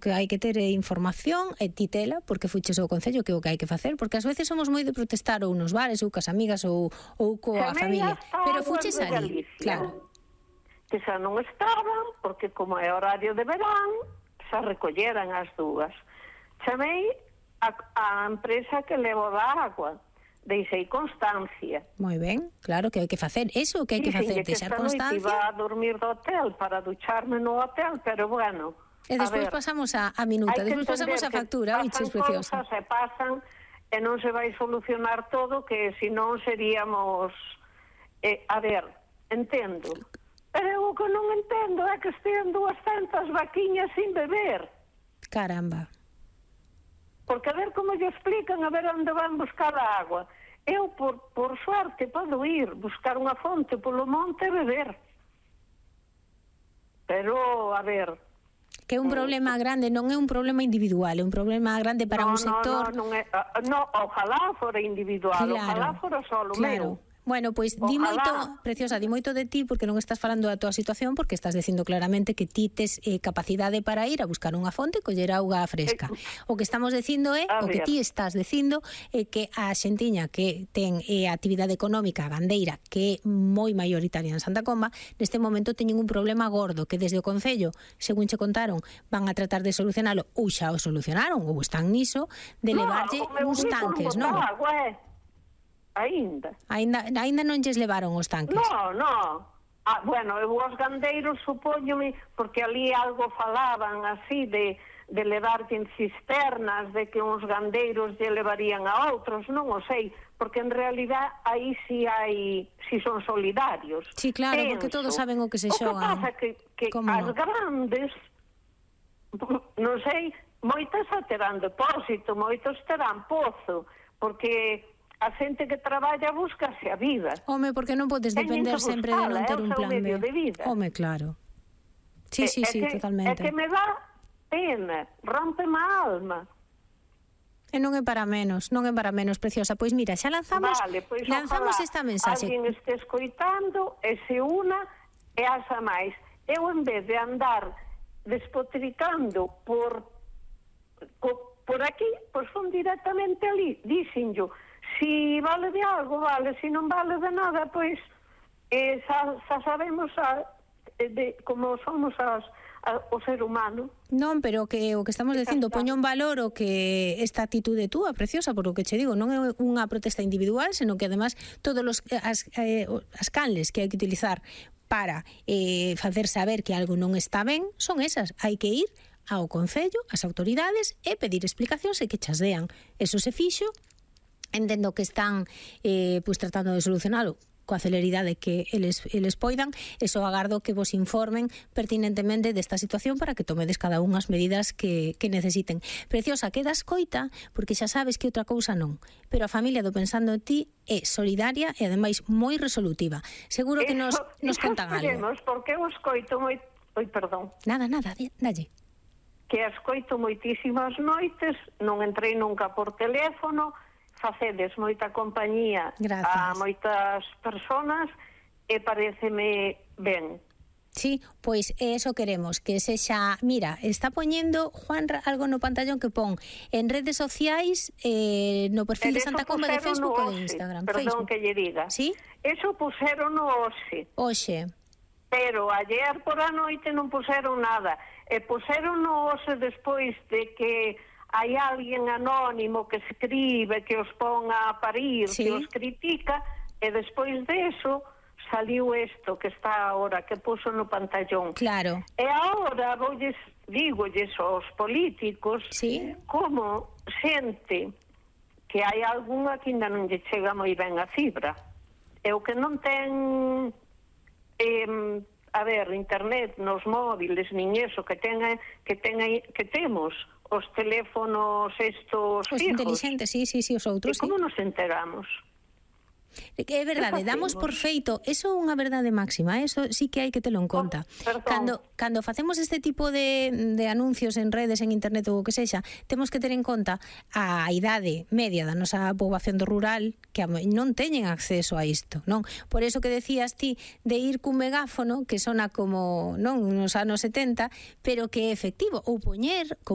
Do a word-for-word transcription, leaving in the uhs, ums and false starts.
que hai que ter información e titela porque fuches ao Concello, que é o que hai que facer, porque ás veces somos moi de protestar ou nos bares ou cas amigas ou, ou coa familia, pero fuches ali, claro. Que xa non estaban, porque como é horario de verán, xa recolleran as dúas. Chamei a, a empresa que levo da agua, deixei constancia. Moi ben, claro que hai que facer eso, que hai que facer, deixar constancia. Que esta noite iba a dormir do hotel para ducharme no hotel, pero bueno... E despois pasamos a, a minuta, despois pasamos a factura, biches preciosa. Se pasan e non se vai solucionar todo, que senón seríamos... Eh, a ver, entendo. Pero o que non entendo é que estean duascentas vaquiñas sin beber. Caramba. Porque a ver como lle explican, a ver onde van buscar a agua. Eu, por, por suerte, podo ir buscar unha fonte polo monte e beber. Pero, a ver... Que é un problema grande, non é un problema individual, é un problema grande para no, un sector... No, non é, no, ojalá fora individual, claro, ojalá fora solo claro. meu. Bueno, pois pues, di moito, preciosa, di moito de ti porque non estás falando da tua situación, porque estás dicindo claramente que ti tes eh, capacidade para ir a buscar unha fonte e coller auga fresca. Eh, o que estamos dicindo é, o que ti estás dicindo é que a xentiña que ten eh, actividade económica gandeira que é moi maioritaria en Santa Comba, neste momento teñen un problema gordo que desde o Concello, según che contaron, van a tratar de solucionalo ou xa o solucionaron ou están niso de levarlle no, uns tanques, non? Agua, eh. Ainda. Ainda ainda non lles levaron os tanques? No, no. Ah, bueno, eu os gandeiros supóñome, porque ali algo falaban así de, de levar en cisternas, de que uns gandeiros lle levarían a outros, non o sei, porque en realidad aí si hai, si son solidarios. Sí, claro, penso, porque todos saben o que se xogan. O que pasa que, que as no? grandes, non sei, moitas terán depósito, moitos terán pozo, porque... a xente que traballa búscase a vida. Home, porque non podes depender sempre de non ter un plan B. De vida. Home, claro. Sí, sí, sí, totalmente. É que me dá pena, rompe má alma. E non é para menos, non é para menos, preciosa. Pois mira, xa lanzamos, vale, pois lanzamos esta mensaxe. Alguén este escoitando e se una e asa máis. Eu, en vez de andar despotricando por, por aquí, pois son directamente ali, díxenllo. Si vale de algo, vale, si non vale de nada, pois eh, xa, xa sabemos a, de, como somos as, a, o ser humano. Non, pero que o que estamos dicindo, poño en valor o que esta actitude túa, preciosa, por o que che digo, non é unha protesta individual, senón que además todos os, as, eh, as canles que hai que utilizar para eh, facer saber que algo non está ben, son esas, hai que ir ao Concello, ás autoridades e pedir explicacións e que chas dean. Eso se fixo. Entendo que están eh, pues, tratando de solucionalo coa celeridade que eles, eles poidan, e só agardo que vos informen pertinentemente desta situación para que tomedes cada unha as medidas que, que necesiten. Preciosa, queda escoita, porque xa sabes que outra cousa non, pero a familia do Pensando en Ti é solidaria e ademais moi resolutiva. Seguro que nos, nos contan algo. Porque eu escoito moi... Oi, perdón. Nada, nada, dalle. Que escoito moitísimas noites, non entrei nunca por teléfono, facedes moita compañía Gracias. A moitas personas e pareceme ben. Sí, pois eso queremos, que sexa... Mira, está poñendo Juan algo no pantallón que pon en redes sociais, eh, no perfil de Santa Comba de Facebook ou de Instagram. Perdón Facebook. Que lle diga. Sí? Eso puseron no hoxe. Hoxe. Pero ayer por a noite non puseron nada. E puseron no hoxe despois de que... hai alguén anónimo que escribe, que os pon a parir, sí. Que os critica, e despois de eso saliu isto que está ahora, que puso no pantallón. Claro. E agora voulles, dígolles aos políticos, sí. Como xente que hai algunha que ainda non lle chega moi ben a fibra. E o que non ten... Eh, a ver, internet nos móviles, nin eso, que tenga, que tenga, que temos... os teléfonos estos os fijos. Os inteligentes, sí, sí, sí, os outros, e como sí. nos enteramos? É verdade, damos por feito, eso é unha verdade máxima, eso sí que hai que telo en conta. Oh, cando, cando facemos este tipo de, de anuncios en redes, en internet ou o que sexa, temos que ter en conta a idade media da nosa poboación do rural, que non teñen acceso a isto, non? Por eso que decías ti de ir cun megáfono, que sona como, non, nos anos setenta, pero que é efectivo, ou poñer como